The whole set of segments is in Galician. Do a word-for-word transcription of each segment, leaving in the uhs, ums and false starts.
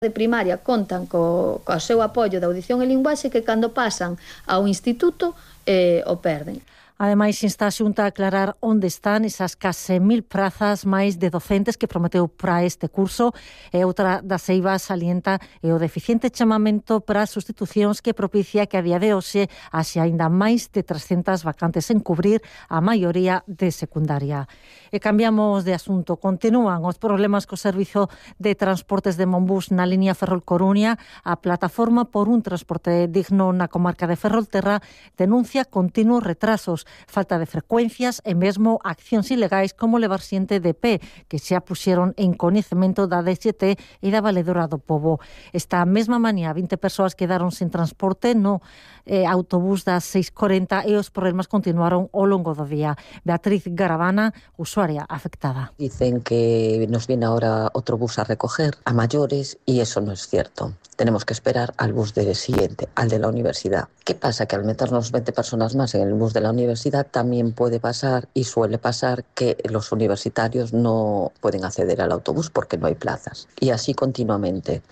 de primaria contan co, co seu apoio de audición e linguaxe que cando pasan ao instituto eh, o perden. Ademais, insta a Xunta a aclarar onde están esas case mil prazas máis de docentes que prometeu para este curso, e outra das eivas salienta é o deficiente chamamento para sustitucións que propicia que a día de hoxe haxe aínda máis de trescentas vacantes en cubrir a maioría de secundaria. E cambiamos de asunto. Continúan os problemas co servizo de transportes de Monbús na liña Ferrol-Coruña. A plataforma por un transporte digno na comarca de Ferrolterra denuncia continuos retrasos, falta de frecuencias e mesmo accións ilegais como levar xente de pé, que xa puxeron en coñecemento da D X T e da Valedora do Pobo. Esta mesma mañá, vinte persoas quedaron sen transporte no eh, autobús das seis corenta e os problemas continuaron ao longo do día. Beatriz Garavana, usuaria afectada. Dicen que nos viene ahora otro bus a recoger a mayores y eso no es cierto. Tenemos que esperar al bus del siguiente, al de la universidad. ¿Qué pasa? Que al meternos veinte personas más en el bus de la universidad también puede pasar y suele pasar que los universitarios no pueden acceder al autobús porque no hay plazas. Y así continuamente.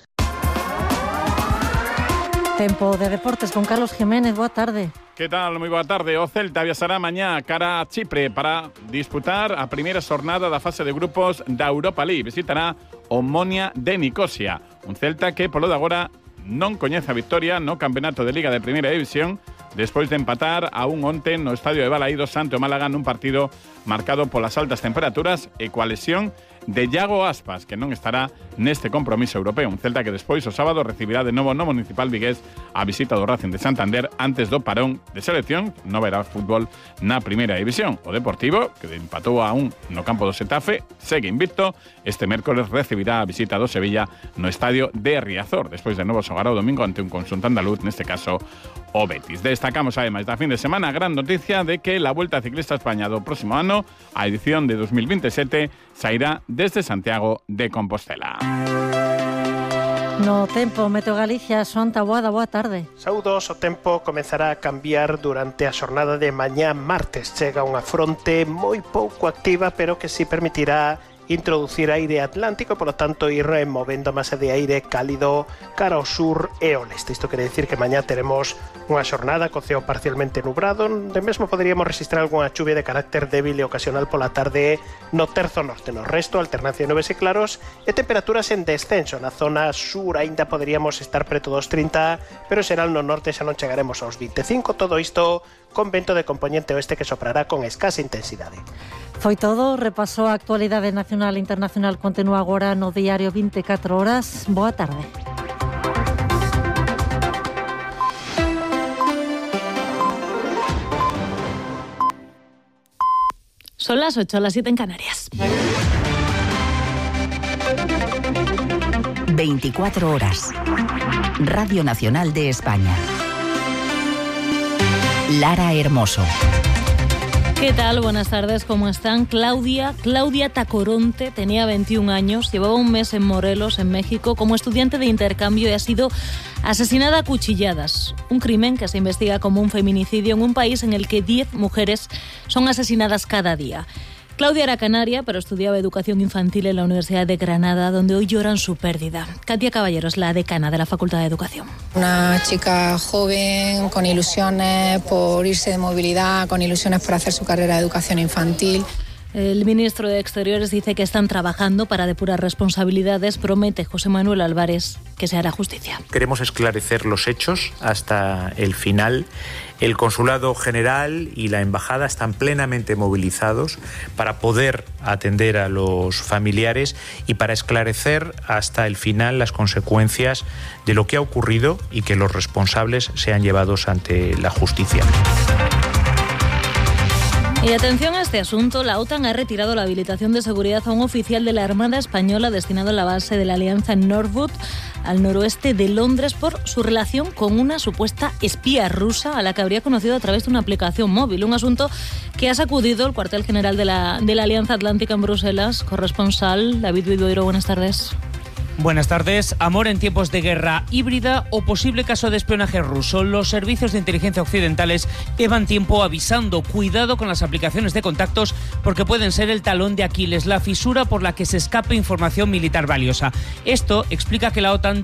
Tempo de deportes con Carlos Jiménez, boa tarde. Que tal? Moi boa tarde. O Celta viaxará mañá cara a Chipre para disputar a primeira xornada da fase de grupos da Europa League. Visitará o Omonia de Nicosia, un Celta que polo de agora non coñece a victoria no Campeonato de Liga de Primeira División despois de empatar a un onte no estadio de Balaídos ante o Málaga nun partido marcado polas altas temperaturas e coa lesión de Iago Aspas, que non estará neste compromiso europeo. Un Celta que despois o sábado recibirá de novo no Municipal Vigués a visita do Racing de Santander antes do parón de selección. Non verá fútbol na primeira división. O Deportivo, que empatou a un no campo do Xetafe, segue invicto. Este mércoles recibirá a visita do Sevilla no estadio de Riazor, despois de novo xogar o domingo ante un conxunto andaluz, neste caso o Betis. Destacamos ademais da fin de semana a gran noticia de que la Volta Ciclista a España do próximo ano, a edición de dos mil veintisiete, sairá desde Santiago de Compostela. No tempo, Meteo Galicia, Xoán Taboada, boa tarde. Saúdos, o tempo comezará a cambiar durante a xornada de mañá martes. Chega unha fronte moi pouco activa, pero que si permitirá introducir aire atlántico, por lo tanto ir movendo masa de aire cálido cara ao sur e ao leste. Isto quere decir que mañá teremos unha xornada co ceo parcialmente nubrado, onde mesmo poderíamos registrar algunha chuvia de carácter débil e ocasional pola tarde no terzo norte. No resto, alternancia de nubes e claros e temperaturas en descenso. Na zona sur aínda poderíamos estar preto dos trinta, pero será no norte xa non chegaremos aos veinticinco. Todo isto con vento de componente oeste que soprará con escasa intensidade. Foi todo, repasou a actualidade nacional e internacional, continúa agora no diario veinticuatro horas. Boa tarde. Son las ocho, las siete en Canarias. veinticuatro horas. Radio Nacional de España. Lara Hermoso. ¿Qué tal? Buenas tardes, ¿cómo están? Claudia, Claudia Tacoronte tenía veintiún años, llevaba un mes en Morelos, en México, como estudiante de intercambio y ha sido asesinada a cuchilladas. Un crimen que se investiga como un feminicidio en un país en el que diez mujeres son asesinadas cada día. Claudia era canaria, pero estudiaba educación infantil en la Universidad de Granada, donde hoy lloran su pérdida. Katia Caballero es la decana de la Facultad de Educación. Una chica joven, con ilusiones por irse de movilidad, con ilusiones por hacer su carrera de educación infantil. El ministro de Exteriores dice que están trabajando para depurar responsabilidades. Promete José Manuel Álvarez que se hará justicia. Queremos esclarecer los hechos hasta el final. El Consulado General y la Embajada están plenamente movilizados para poder atender a los familiares y para esclarecer hasta el final las consecuencias de lo que ha ocurrido y que los responsables sean llevados ante la justicia. Y atención a este asunto, la OTAN ha retirado la habilitación de seguridad a un oficial de la Armada Española destinado a la base de la Alianza en Norwood, al noroeste de Londres, por su relación con una supuesta espía rusa a la que habría conocido a través de una aplicación móvil. Un asunto que ha sacudido el cuartel general de la, de la Alianza Atlántica en Bruselas. Corresponsal David Vidoiro, buenas tardes. Buenas tardes. Amor en tiempos de guerra híbrida o posible caso de espionaje ruso. Los servicios de inteligencia occidentales llevan tiempo avisando. Cuidado con las aplicaciones de contactos porque pueden ser el talón de Aquiles, la fisura por la que se escape información militar valiosa. Esto explica que la OTAN